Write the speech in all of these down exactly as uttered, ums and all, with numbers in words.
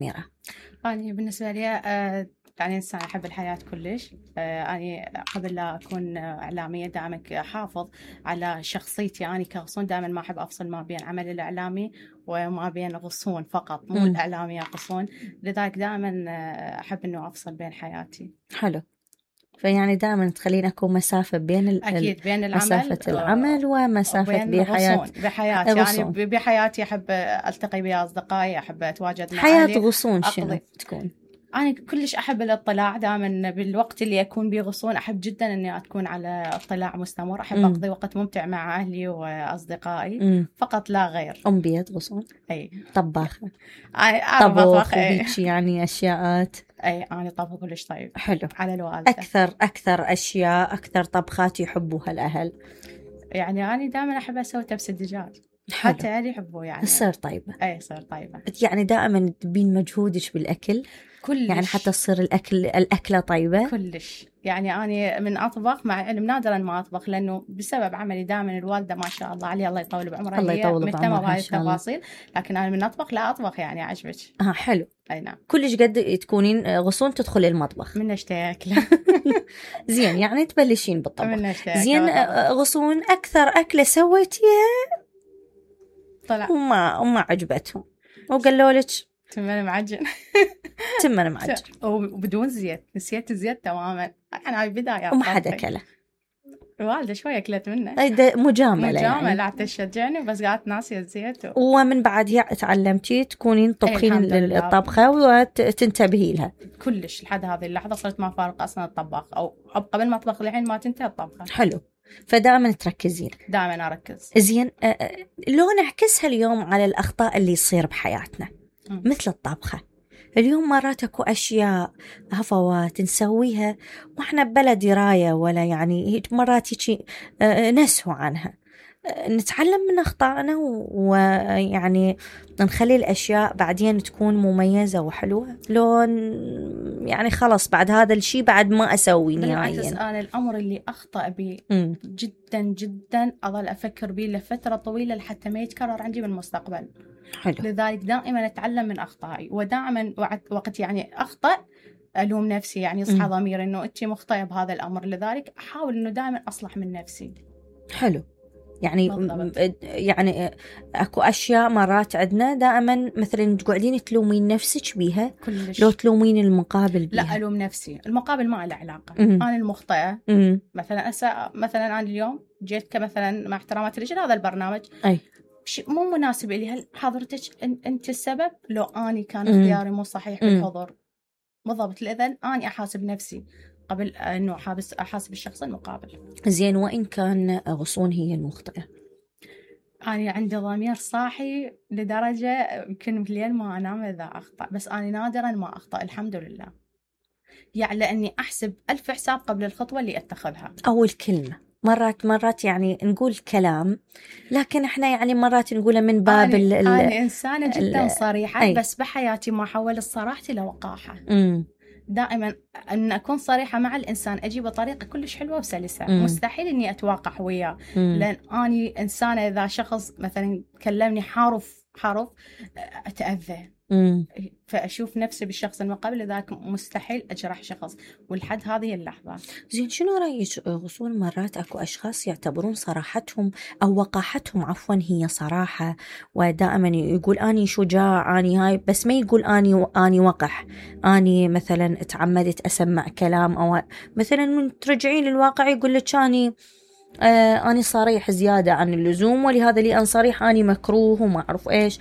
ميرا. أنا بالنسبة لي آه يعني إنسان أحب الحياة كلش. آه أنا قبل لا أكون إعلامية دائما أحافظ على شخصيتي. أنا كغصون دائما ما أحب أفصل ما بين عمل الإعلامي وما بين غصون فقط، مو مم. الإعلامية غصون. لذلك دائما أحب إنه أفصل بين حياتي. حلو. فيعني دائما تخلين أكون مسافة بين ال... أكيد بين العمل مسافة العمل ومسافة بحياة بحياتي. غصون. يعني بحياتي أحب ألتقي بأصدقائي، أحب أتواجد مع حياة أهلي. غصون شنو تكون؟ أنا كلش أحب الاطلاع دائما بالوقت اللي أكون به غصون. أحب جدا إني أكون على اطلاع مستمر. أحب مم. أقضي وقت ممتع مع أهلي وأصدقائي. مم. فقط لا غير. أم بيت غصون. أي طباخة. أعرف أطبخ. أي يعني أشياءات. أي أنا طبخ كلش طيب. حلو. على الوالدة. أكثر أكثر أشياء أكثر طبخات يحبوها الأهل؟ يعني أنا دائما أحب أسوي تبس الدجاج. حتى أهلي يحبوه. يعني تصير طيبة. أي تصير طيبة. يعني دائما تبين مجهودك بالأكل كلش. يعني حتى تصير الأكل الأكلة طيبة كلش. يعني أنا من أطبخ مع علم نادرا ما أطبخ، لأنه بسبب عملي دائما الوالدة ما شاء الله عليها الله يطول بعمرها الله يطول مهتمة بهاي التفاصيل. لكن أنا من أطبخ لا أطبخ يعني عجبك. آه حلو. أي نعم. كلش قد تكونين غصون تدخل المطبخ من اشتهي أكله. زين يعني تبلشين بالطبخ. من اشتهي. زين غصون أكثر أكلة سويتيها طلع وما وما عجبتهم وقالوا لك تمن معجن. تمن معجن وبدون زيت. نسيت الزيت تماما. أنا هاي بداية وما حدا كله. والدة شوية أكلت منه. هيدا مجاملة. مجاملة يعني. حتى تشجعني بس قالت ناسية الزيت. و... ومن بعدها تعلمتي تكونين تطبخين الطبخة وتنتبهي لها. كلش لحد هذه اللحظة صرت ما فارق أصلا الطباخ، أو قبل ما أطبخ الحين ما تنتهي الطبخة. حلو. فدائما تركزين. دائما أركز. زين لو نعكسها اليوم على الأخطاء اللي يصير بحياتنا م. مثل الطبخة. اليوم مرات اكو اشياء هفوات نسويها واحنا بلا درايه ولا يعني مرات هيك نسهو عنها. نتعلم من اخطائنا ويعني نخلي الاشياء بعدين تكون مميزه وحلوه. لو يعني خلص بعد هذا الشيء بعد ما اسوي نهائيا. بالعكس انا الامر اللي اخطا به جدا جدا اظل افكر به لفتره طويله لحتى ما يتكرر عندي بالمستقبل. حلو. لذلك دائما أتعلم من أخطائي، ودائما وقت يعني أخطأ ألوم نفسي، يعني يصحى ضميري إنه أنت مخطئة بهذا الأمر. لذلك أحاول إنه دائما أصلح من نفسي. حلو. يعني بالضبط. يعني أكو أشياء مرات عندنا دائما مثلا تقعدين تلومين نفسك بيها. كلش. لو تلومين المقابل بيها. لا ألوم نفسي. المقابل ما له علاقة. م- أنا المخطئة. م- مثلا أسا مثلا أنا اليوم جيت كمثلا مع احترامات الرجال هذا البرنامج. أي. مو مناسب لي. هل حضرتك أنت السبب؟ لو أني كان اختياري مو صحيح بالحضور. بالضبط. لذن أني أحاسب نفسي قبل أنه أحابس أحاسب الشخص المقابل. زين وإن كان غصون هي المخطئة. أنا عندي ضمير صاحي لدرجة يمكن بالليل ما أنام إذا أخطأ، بس أنا نادرا ما أخطأ الحمد لله. يعني لأني أحسب ألف حساب قبل الخطوة اللي أتخذها. أول كلمة. مرات مرات يعني نقول كلام لكن احنا يعني مرات نقوله من باب ال ال أنا إنسانة جدا صريحة. أي. بس بحياتي ما حول الصراحة لوقاحة. م. دائما أن أكون صريحة مع الإنسان أجيب بطريقة كلش حلوة وسلسة. م. مستحيل إني أتواقع وياه. لأن أني إنسانة إذا شخص مثلا كلمني حارف حارف أتأذى. م. فأشوف نفسي بالشخص المقابل. لذلك مستحيل أجرح شخص ولحد هذه اللحظة. زين شنو رأيك غصون مرات أكو أشخاص يعتبرون صراحتهم أو وقاحتهم عفوا هي صراحة ودائما يقول أني شجاع أني هاي بس ما يقول أني أني وقح أني مثلا تعمدت أسمع كلام أو مثلا من ترجعين للواقع يقول لك أني آه أنا صريح زيادة عن اللزوم ولهذا لي أن صريح أنا مكروه وما أعرف إيش.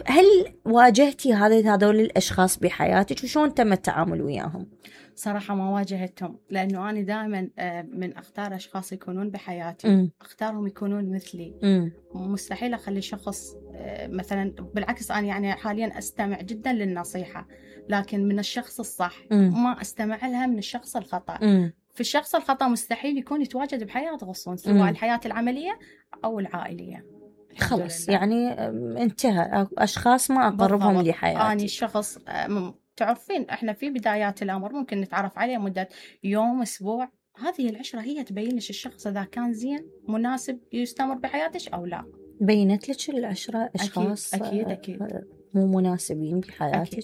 هل واجهتي هذا هذول الأشخاص بحياتك وشون تم التعامل وياهم؟ صراحة ما واجهتهم لأنه أنا دائما من أختار أشخاص يكونون بحياتي. م. أختارهم يكونون مثلي. م. مستحيل أخلي شخص مثلا بالعكس. أنا يعني حاليا أستمع جدا للنصيحة لكن من الشخص الصح. م. ما أستمع لها من الشخص الخطأ. م. في الشخص الخطأ مستحيل يكون يتواجد بحياة غصون سواء الحياة العملية أو العائلية. خلص يعني انتهى أشخاص ما أقربهم لحياتي. أنا الشخص تعرفين إحنا في بدايات الأمر ممكن نتعرف عليه مدة يوم أسبوع. هذه العشرة هي تبين لك الشخص إذا كان زين مناسب يستمر بحياتك أو لا. بينت لك العشرة أشخاص أكيد أكيد, أكيد. مو مناسبين بحياتك؟